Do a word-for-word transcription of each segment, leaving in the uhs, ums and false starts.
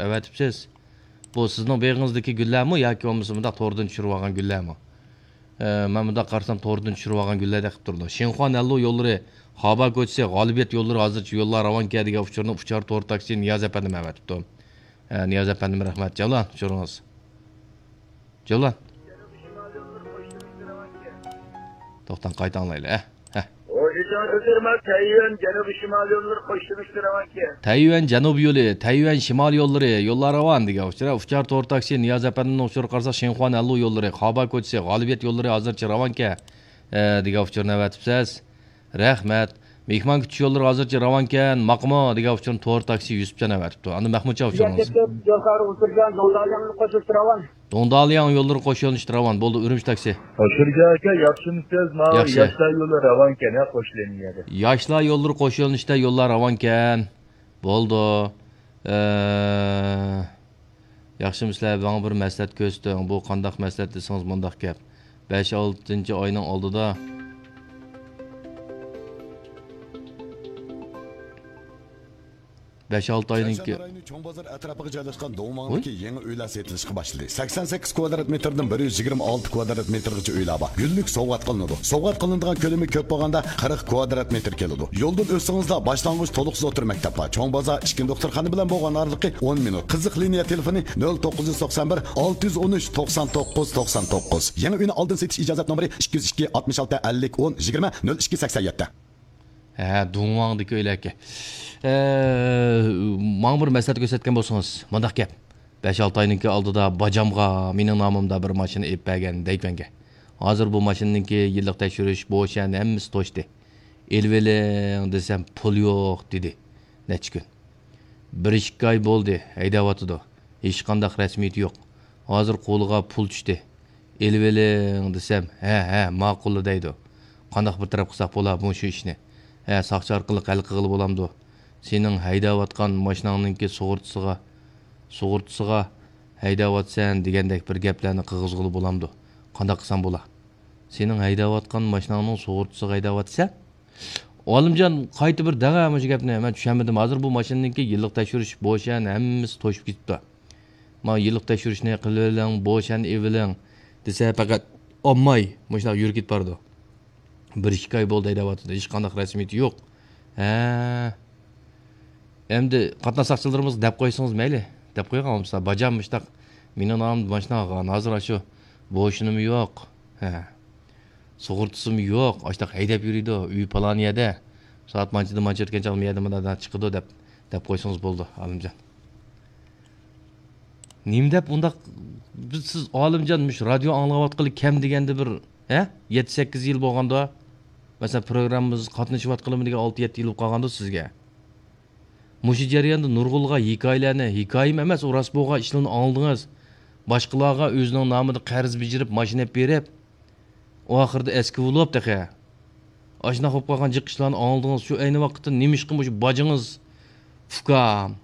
ئەۋەتىپسىز. بۇ سىزنىڭ بېغىڭىزدىكى گۈللەرمۇ ياكى بولمىسا مۇنداق توردىن چۈشۈرۈۋالغان گۈللەرمۇ؟ ئە، مەن مۇنداق قارىسام، توردىن چۈشۈرۈۋالغان گۈللەردەك قىلىپ تۇرىدۇ. شىنخۇا نەنلۇ يوللىرى، خابا كوچىسى، غالىبىيەت يوللىرى ھازىرچە يوللار راۋانكەن دېگەن ئۇچۇرنى ئۇچار تور تاكسى نىياز ئەپەندىم ئەۋەتىپتۇ. ئە، نىياز ئەپەندىم، رەھمەت. جەۋلان، ئۇچۇرىڭىز. جەۋلان. توختاڭ، قايتا ئاڭلايلى. ئە، ئە. تەييۈەن جەنۇبىي شىمال يوللىرى قوشۇلۇشتا راۋانكەن. تەييۈەن جەنۇب يولى، تەييۈەن شىمال يوللىرى، يوللار راۋان دېگەن ئۇچۇر. ئۇچار تور تاكسى نىياز ئەپەندىمنىڭ ئۇچۇرىغا قارىساق، شىنخۇا نەنلۇ يوللىرى، خابا كوچىسى، غالىبىيەت يوللىرى ھازىرچە راۋانكەن، ئە، دېگەن ئۇچۇرنى ئەۋەتىپسىز. رەھمەت. مېھمان كۈتۈش يوللىرى ھازىرچە راۋانكەن، ماقۇمۇ دېگەن ئۇچۇرنى تور تاكسى يۈسۈپجان ئەۋەتىپتۇ. ئاندىن مەخمۇتجان ئۇچۇرىڭىز. يولكار ئۇچۇرجان، دۇڭدالياڭ قوشۇلۇشتا راۋان. دۇڭدالياڭ يوللىرى قوشۇلۇشتا راۋان. بولدى، ئۈرۈمچى تاكسى. شۇرجا ئاكا، ياخشىمۇسىز؟ ماۋۇ ياخشى. ياشلار يولى راۋانكەن، ھە، قوش لىنىيەدە. ياشلار يوللىرى قوش يۆنىلىشتە يوللار راۋانكەن. بولدى. ئە، ياخشىمۇ سىلەر؟ ماڭا بىر مەسلىھەت كۆرسىتىڭ. بۇ قانداق مەسلىھەت دېسىڭىز، مۇنداق گەپ. بەش ئالتىنچى ئاينىڭ ئالدىدا، بەش ئالتە ئاينىڭكى. شەنشەن رايونى چوڭ بازار ئەتراپىغا جايلاشقان ۋۇي. دوڭماڭدىكى يېڭى ئۆيلەر سېتىلىشقا باشلىدى. سەكسەن سەككىز كۋادرات مېتىردىن بىر يۈز يىگىرمە ئالتە كۋادرات مېتىرغىچە ئۆيلەر بار. گۈللۈك سوۋغات قىلىنىدۇ. سوۋغات قىلىنىدىغان كۆلىمى كۆپ بولغاندا قىرىق كۋادرات مېتىر كېلىدۇ. يولدىن ئۆتسىڭىزلا باشلانغۇچ تولۇقسىز ئوتتۇرا مەكتەپ بار. چوڭ بازار ئىچكى دوختۇرخانا بىلەن بولغان ئارىلىقى ئون مىنۇت. قىزىق لىنىيە تېلېفونى نۆل توققۇز يۈز توقسان بىر، ئالتە يۈز ئون ئۈچ، توقسان توققۇز، توقسان توققۇز. يېڭى ئۆينى ئالدىن سېتىش ئىجازەت نومۇرى ئىككى يۈز ئىككى، ئاتمىش ئالتە، ئەللىك، ئون، يىگىرمە، نۆل ئىككى، سەكسەن يەتتە. ھە، دۇڭۋاڭدىكى ئۆيلەركەن. ئە، ماڭا بىر مەسلىھەت كۆرسەتكەن بولسىڭىز، مۇنداق گەپ. بەش-ئالتە ئاينىڭكى ئالدىدا باجامغا مېنىڭ نامىمدا بىر ماشىنا ئېلىپ بەرگەن دەيمەنگە. ھازىر بۇ ماشىنىنىڭكى يىللىق تەكشۈرۈش، بوشەن ھەممىسى توشتى. ئېلىۋېلىڭ دېسەم، پۇل يوق دېدى. نەچچە كۈن. بىر ئىككى ئاي بولدى، ھەيدەۋاتىدۇ. ھېچقانداق رەسمىيىتى يوق. ھازىر قولىغا پۇل چۈشتى. ئېلىۋېلىڭ دېسەم، ھە، ھە، ماقۇللا دەيدۇ. قانداق بىر تەرەپ قىلساق بولا مۇشۇ ئىشنى؟ ھە، ساقچى ئارقىلىق ھەل قىلغىلى بولامدۇ؟ سېنىڭ ھەيدەۋاتقان ماشىناڭنىڭكى سۇغۇرتىسىغا، سۇغۇرتىسىغا ھەيدەۋاتىسەن دېگەندەك بىر گەپلەرنى قىلغۇزغىلى بولامدۇ؟ قانداق قىلسام بولا؟ سېنىڭ ھەيدەۋاتقان ماشىناڭنىڭ سۇغۇرتىسىغا ھەيدەۋاتىسەن؟ ئالىمجان، قايتا بىر دەڭە مۇشۇ گەپنى، مەن چۈشەنمىدىم. ھازىر بۇ ماشىنىنىڭكى يىللىق تەكشۈرۈش بوشەن، ھەممىسى توشۇپ كېتىپتۇ. مانا يىللىق تەكشۈرۈشنى قىلىۋېلىڭ، بوشەن ئېلىۋېلىڭ دېسە، پەقەت ئالماي مۇشۇنداق يۈرۈپ كېتىپ بارىدۇ. بىر ئىككى ئاي بولدى ھەيدەۋاتىدۇ، ھېچقانداق رەسمىيىتى يوق. ھە. ئەمدى قاتناش ساقچىلىرىمىزغا دەپ قويسىڭىز مەيلى. دەپ قويغان بولمىسا، باجام مۇشتاق، مېنىڭ نامىمدا ماشىنا ئالغان، ھازىر ئاشۇ بوشىنىمۇ يوق. ھە. سۇغۇرتىسىمۇ يوق، ئاشتاق ھەيدەپ يۈرىدۇ، ئۆيى پالان يەردە. سائەت مانچىدىن مانچە ئۆتكەن چاغدا مۇ يەردىن مۇنداق چىقىدۇ دەپ، دەپ قويسىڭىز بولىدۇ، ئالىمجان. نېمە دەپ ئۇنداق، بىز، سىز ئالىمجان مۇشۇ رادىيو ئاڭلاۋاتقىلى كەم دېگەندە بىر، ھە؟ يەتتە سەككىز يىل بولغاندا، مەسىلەن، پروگراممىمىزغا قاتنىشىۋاتقىلىمۇ دېگەن ئالتە يەتتە يىل بولۇپ قالغاندۇ سىزگە. مۇشۇ جەرياندا نۇرغۇنلىغان ھېكايىلەرنى، ھېكايىمۇ ئەمەس، ئۇ راست بولغان ئىشلارنى ئاڭلىدىڭىز. باشقىلارغا ئۆزىنىڭ نامىدا قەرز بېجىرىپ، ماشىنا ئېلىپ بېرىپ، ئاخىرىدا ئەسكى بولۇپ تېخى. ئاشۇنداق بولۇپ قالغان جىق ئىشلارنى ئاڭلىدىڭىز. شۇ ئەينى ۋاقىتتا نېمىشقا مۇشۇ باجىڭىز، ئۇكام،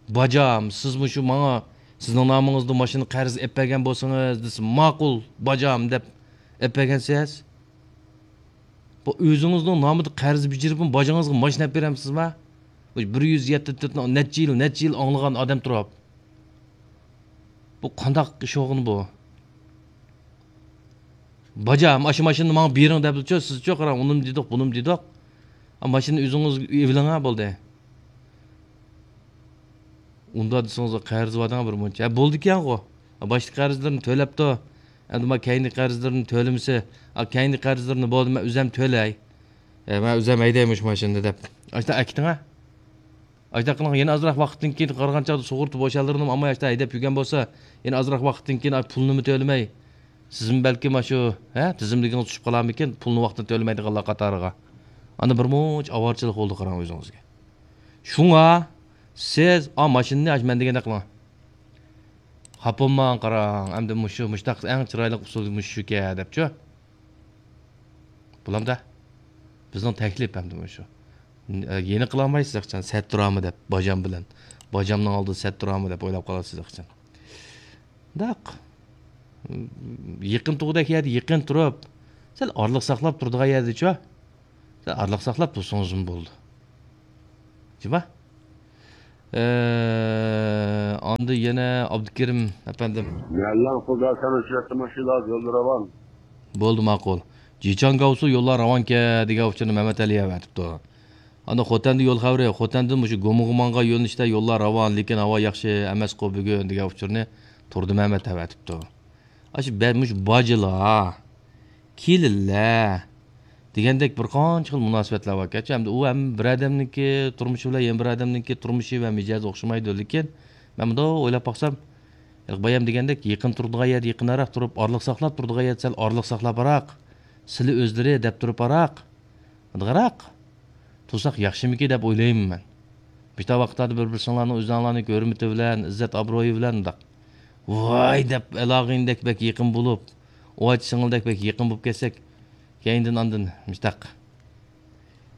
باجام، سىز مۇشۇ ماڭا سىزنىڭ نامىڭىزدا ماشىنا قەرز ئېلىپ بەرگەن بولسىڭىز دېسە، ماقۇل، باجام دەپ ئېلىپ بەرگەنسىز. بۇ ئۆزىڭىزنىڭ نامىدا قەرز بېجىرىپمۇ باجىڭىزغا ماشىنا ئېلىپ بېرەمسىزما؟ بۇ بىر يۈز يەتتە تۆتنى نەچچە يىل، نەچچە يىل ئاڭلىغان ئادەم تۇرۇپ. بۇ قانداق ئىش بولغىنى بۇ؟ باجا، ئاشۇ ماشىنىنى ماڭا بېرىڭ دەپچۇ، سىزچۇ، قاراڭ، ئۇنىمۇ دېدۇق، بۇنىمۇ دېدۇق. ئا، ماشىنىنى ئۆزىڭىز ئېلىۋېلىڭ، ھە، بولدى. ئۇنداق دېسىڭىز، قەرز بار دەڭ بىر مۇنچە. ھە، بولىدىكەنغۇ. ھە، باشتىكى قەرزلىرىنى تۆلەپتۇ. ئەمدى ما كەينىدىكى قەرزلىرىنى تۆلىمىسە، ئا، كەينىدىكى قەرزلىرىنى بولدى، مەن ئۆزەم تۆلەي. ھە، مەن ئۆزەم ھەيدەي مۇشۇ ماشىنىنى دەپ. ئاشتا ئەكىتىڭ، ھە. ئاشۇنداق قىلىڭ، يەنە ئازراق ۋاقىتتىن كېيىن قارىغان چاغدا سۇغۇرتا بوشالدۇرۇنۇم ئامما ئاشتا ھەيدەپ يۈرگەن بولسا، يەنە ئازراق ۋاقىتتىن كېيىن پۇلنىمۇ تۆلىمەي، سىزمۇ بەلكىم ئاشۇ، ھە، تىزىملىكىڭىز چۈشۈپ قالارمىكىن، پۇلنى ۋاقتىدا تۆلىمەيدىغانلار قاتارىغا. ئاندىن بىر مۇنچە ئاۋارىچىلىق بولىدۇ، قاراڭ ئۆزىڭىزگە. شۇڭا سىز، ئا، ماشىنىنى ئاشۇ مەن دېگەندەك قىلىڭ. خاپا بولماڭ، قاراڭ، ئەمدى مۇشۇ، مۇشۇنداق ئەڭ چىرايلىق ئۇسۇل مۇشۇكەن دەپچۇ. بولامدا؟ بىزنىڭ تەكلىپ ئەمدى مۇشۇ. يەنە قىلالمايسىز ئىخچان، سەت تۇرامۇ دەپ، باجام بىلەن. باجامنىڭ ئالدىدا سەت تۇرامۇ دەپ ئويلاپ قالىسىز ئىخچان. داق. يېقىن تۇغۇدەك يەردە يېقىن تۇرۇپ، سەل ئارىلىق ساقلاپ تۇرىدىغان يەردىچۇ. سەل ئارىلىق ساقلاپ تۇرسىڭىزمۇ بولىدۇ. جۇما؟ ئە، ئاندىن يەنە ئابدۇكېرىم ئەپەندىم. مەللەڭ خۇدا سەن ئۇچراتتى ماشىنىلار يولدا راۋان. بولدى، ماقۇل. جىچاڭگاۋسۇ يوللار راۋانكەن دېگەن ئۇچۇرنى مەمەتئەلى ئەۋەتىپتۇ. ئاندىن خوتەندە يول خەۋىرى، خوتەندىن مۇشۇ گومۇغۇمانغا يۆنىلىشتە يوللار راۋان، لېكىن ھاۋا ياخشى ئەمەسقۇ بۈگۈن دېگەن ئۇچۇرنى تۇردىمەمەت ئەۋەتىپتۇ. ئاشۇ بە-، مۇشۇ باجىلار، كېلىنلەر دېگەندەك بىر قانچە خىل مۇناسىۋەتلەر باركەنچۇ. ئەمدى ئۇ ھەم بىر ئادەمنىڭكى تۇرمۇشى بىلەن يەنە بىر ئادەمنىڭكى تۇرمۇشى ۋە مىجەزى ئوخشىمايدۇ. لېكىن مەن مۇنداق ئويلاپ باقسام، ھېلىقى بايام دېگەندەك يېقىن تۇرىدىغان يەردە يېقىنراق تۇرۇپ، ئارىلىق ساقلاپ تۇرىدىغان يەردە سەل ئارىلىق ساقلاپراق، سىلى ئۆزلىرى دەپ تۇرۇپراق، مۇنداقراق تۇرساق ياخشىمىكى دەپ ئويلايمەن مەن. مۇشۇنداق ۋاقىتلاردا بىر-بىرسىڭلارنىڭ ئۆزۈڭلارنىڭ ھۆرمىتى بىلەن، ئىززەت-ئابرۇيى بىلەن مۇنداق ۋاي دەپ ئالاغىنىدەك بەك يېقىن بولۇپ، ئۇۋاچ سىڭىلدەك بەك يېقىن بولۇپ كەتسەك، كەينىدىن ئاندىن مۇشتاق.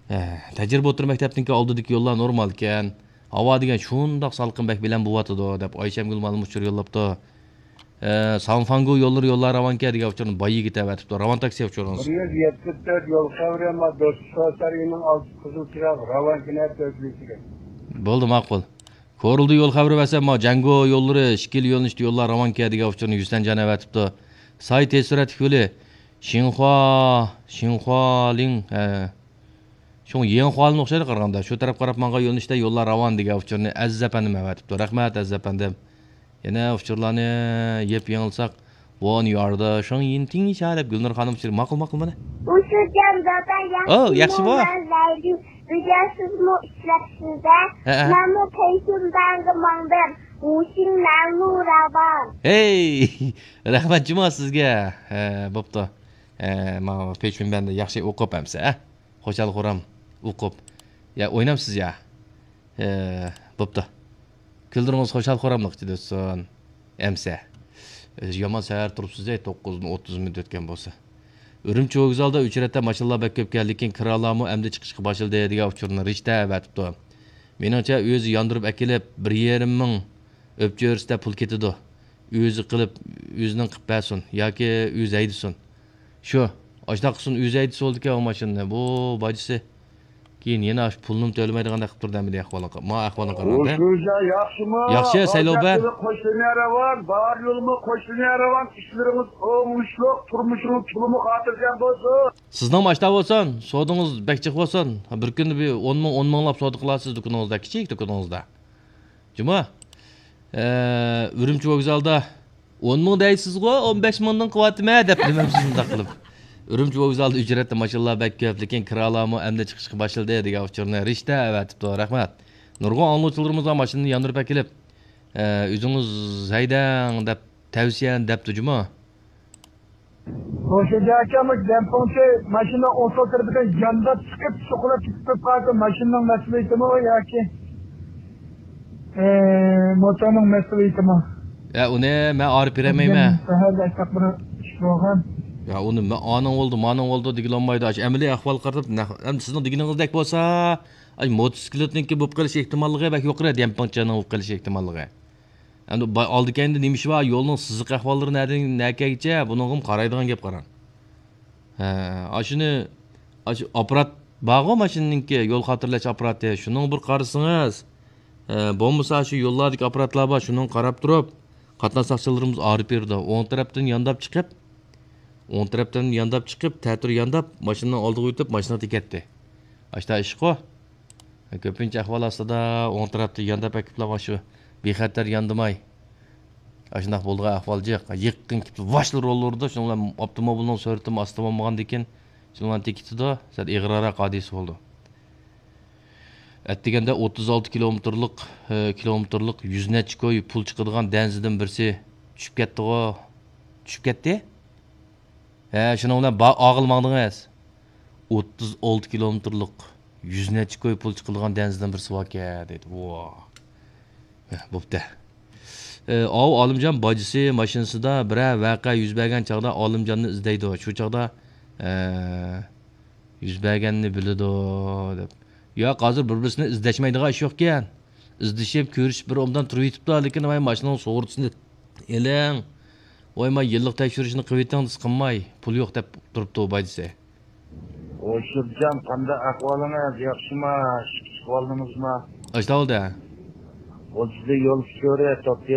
ھە، تەجرىبە ئوتتۇرا مەكتەپنىڭكى ئالدىدىكى يوللار نورمال ئىكەن. ھاۋا دېگەن شۇنداق سالقىن، بەك بىلەن بوۋاتىدۇ، دەپ ئايشەمگۈل مۇئەللىم ئۇچۇر يوللاپتۇ. ئە، سانفاڭگو يوللىرى يوللار راۋانكەن دېگەن ئۇچۇرنى باي يىگىت ئەۋەتىپتۇ. راۋان تاكسى ئۇچۇرىڭىز. بىر يۈز يەتمىش تۆت يول خەۋىرى، ئەمما دوستلۇق سەرگىنىڭ ئالدى قىزىل چىراغ، راۋانكىنە تۆتىنچىگە. بولدى، ماقۇل. كورلىدا يول خەۋىرى بەرسەم، ما جەڭگو يوللىرى ئىككىلا يۆنىلىشتە يوللار راۋانكەن دېگەن ئۇچۇرنى يۈسەنجان ئەۋەتىپتۇ. ساي تېز سۈرئەتلىك يولى شىنخۇا، شىنخۇالىڭ، ھە. شۇڭ يېڭىخۇالىن ئوخشايدۇ قارىغاندا. شۇ تەرەپ قاراپ ماڭغان يۆنىلىشتە يوللار راۋان دېگەن ئۇچۇرنى ئەزىز ئەپەندىم ئەۋەتىپتۇ. رەھمەت، ئەزىز ئەپەندىم. يەنە ئۇچۇرلارنى يېپىپ يېڭىلساق، بۇ ياردا شۇڭ يىن تىڭشا دەپ گۈلنۇر خانىم ئۇچۇرى. ماقۇل، ماقۇل، مانا. ئۇشۇجان دادا، ئو، ياخشىمۇ؟ ياخشىمۇ؟ مەن زەيدى. بۈگۈن سىزمۇ ئىشلەپسىز-دە. ھەئە. مەنمۇ پەيشۇنبەنگە ماڭدىم. ۋۇشىڭ مەنمۇ راۋان. ھەي! رەھمەت جۇما سىزگە. ھە، بوپتۇ. ھە، مانا پەيشۇنبەندە ياخشى ئوقۇپ ئەمسە، ھە؟ خۇشال-خۇرام ئوقۇپ. يا، ئوينامسىز يا؟ ھە، بوپتۇ. كۈنلىرىڭىز خۇشال-خۇراملىق ئىچىدە ئۆتسۇن. ئەمسە. يامان سەھەر تۇرۇپسىز-ئەي، توققۇزنى ئوتتۇز مىنۇت ئۆتكەن بولسا. ئۈرۈمچى ۋوگزالدا ئۆچرەتتە ماشىنىلار بەك كۆپكەن، لېكىن كىرالارمۇ ئەمدى چىقىشقا باشلىدى دېگەن ئۇچۇرنى رىشتە ئەۋەتىپتۇ. مېنىڭچە، ئۆزى ياندۇرۇپ ئەكېلىپ، بىر يېرىم مىڭ ئۆپچۆرىسىدە پۇل كېتىدۇ. ئۆزى قىلىپ، ئۆزىنىڭ قىلىپ بەرسۇن ياكى ئۆزى ھەيدىسۇن. شۇ، ئاشۇنداق قىلسۇن، ئۆزى ھەيدىسە بولىدىكەن ئۇ ماشىنىنى. بۇ باجىسى. كېيىن يەنە ئاشۇ پۇلنىمۇ تۆلىمەيدىغاندەك قىلىپ تۇردى ئەمدى ئەھۋالىغا. ما ئەھۋالىغا قارىغاندا. ھوشۇڭىزدا ياخشىمۇ؟ ياخشى، سەيلو بەگ. قوشنىيە راۋان، بار يولمۇ قوشنىيە راۋان، ئىشلىرىڭىز ئوڭۇشلۇق، تۇرمۇشىڭىز تولىمۇ خاتىرجەم بولسۇن. سىزنىڭمۇ ئاشتا بولسۇن، سودىڭىز بەك جىق بولسۇن. بىر كۈندە بىر ئون مىڭ، ئون مىڭلاپ سودا قىلارسىز دۇكىنىڭىزدا، كىچىك دۇكىنىڭىزدا. جۇما، ئە، ئۈرۈمچى ۋوگزالدا ئون مىڭ دەيسىزغۇ، ئون بەش مىڭدىن قىلىۋاتىمەن دەپ نېمەمسىز مۇنداق قىلىپ. ئۈرۈمچى ۋوگزالدا ئۆچرەتتە ماشىنىلار بەك كۆپ، لېكىن كىرالارمۇ ئەمدى چىقىشقا باشلىدى دېگەن ئۇچۇرنى رىشتە ئەۋەتىپتۇ. رەھمەت. نۇرغۇن ئاڭلىغۇچىلىرىمىز بار ماشىنىنى ياندۇرۇپ ئەكېلىپ، ئە، ئۆزىڭىز ھەيدەڭ دەپ تەۋسىيە دەپتۇ جۇما. روشەنجان ئاكا، مۇشۇ دەمپىڭچى ماشىنا ئوڭ سول تەرىپىدىن يانداپ چىقىپ، سوقۇلۇپ كېتىپ قالسا، ماشىنىنىڭ مەسئۇلىيىتىمۇ ياكى، ئى، موتورنىڭ مەسئۇلىيىتىمۇ؟ يا، ئۇنى مەن ئايرىپ بېرەلمەيمەن. سەھەردە ئاشۇنداق بىر ئىش بولغان. يا، ئۇنى مە-، ئانىڭ بولدى، مانىڭ بولدى دېگىلى بولمايدۇ. ئاشۇ ئەمەلىي ئەھۋالغا قاراپ، نە-، ئەمدى سىزنىڭ دېگىنىڭىزدەك بولسا، ئاي، موتوسىكلىتنىڭكى بولۇپ قېلىش ئېھتىماللىقى بەك يۇقىرى، دەمپىڭچىنىڭ بولۇپ قېلىش ئېھتىماللىقى. ئەمدى با-، ئالدى كەينىدە نېمە ئىش بار، يولنىڭ سىزىق ئەھۋاللىرى نەدىن نەگىچە، بۇنىڭغىمۇ قارايدىغان گەپ قاراڭ. ھە، ئاشۇنى، ئاشۇ ئاپپارات بارغۇ ماشىنىنىڭكى، يول خاتىرىلەش ئاپپاراتى، شۇنىڭغا بىر قارىسىڭىز، ھە، بولمىسا شۇ يوللاردىكى ئاپپاراتلار بار، شۇنىڭغا قاراپ تۇرۇپ، قاتناش ساقچىلىرىمىز ئايرىپ بېرىدۇ. ئوڭ تەرەپتىن يانداپ چىقىپ، ئوڭ تەرەپتىن يانداپ چىقىپ، تەتۈر يانداپ، ماشىنىنىڭ ئالدىغا ئۆتۈپ، ماشىنىغا تېگەتتى. ئاشۇنداق ئىشقۇ. كۆپىنچە ئەھۋال ئاستىدا ئوڭ تەرەپتە يانداپ ئەكىپلا مانا شۇ بىخەتەر ياندىماي. ئاشۇنداق بولىدىغان ئەھۋال جىق. يېقىن كېلىپ ۋاشلا رول ئۇرىدۇ. شۇنىڭ بىلەن ئاپتوموبىلنىڭ سۈرئىتىمۇ ئاستا بولمىغاندىكىن، شۇنىڭ بىلەن تېگىتىدۇ، سەل ئېغىرراق ھادىسە بولىدۇ. ئەتىگەندە ئوتتۇز ئالتە كىلومېتىرلىق، ئى، كىلومېتىرلىق يۈز نەچچە كوي پۇل چىقىدىغان دەنزىدىن بىرسى چۈشۈپ كەتتىغۇ. چۈشۈپ كەتتى؟ ھە، شۇنىڭ بىلەن با-، ئاغىل ماڭدىڭىز. ئوتتۇز ئالتە كىلومېتىرلىق، يۈز نەچچە كوي پۇل چىقىدىغان دەنزىدىن بىرسى باركەن، دېدى. ۋا. ھە، بوپتۇ. ئە، ئاۋۇ ئالىمجان باجىسى ماشىنىسىدا بىرەر ۋەقە يۈز بەرگەن چاغدا ئالىمجاننى ئىزدەيدۇ. شۇ چاغدا، ئە، يۈز بەرگەننى بىلىدۇ، دەپ. ياق، ھازىر بىر-بىرسىنى ئىزدەشمەيدىغان ئىش يوقكەن. ئىزدىشىپ، كۆرۈشۈپ بىر ئوبدان تۇرۇۋېتىپتۇ، لېكىن ۋاي ماشىنىنىڭ سۇغۇرتىسىنى ئېلىڭ. ۋاي، ما يىللىق تەكشۈرۈشنى قىلىۋېتىڭ دېسە قىلماي، پۇل يوق دەپ تۇرۇپتۇ باجىسى. ھوشۇرجان، قانداق ئەھۋالىڭىز؟ ياخشىما؟ ئىشقا چىقىۋالدىڭىزما؟ ئاشتا بولدى. ئوتتۇز يول ئۇچۇرى، توختى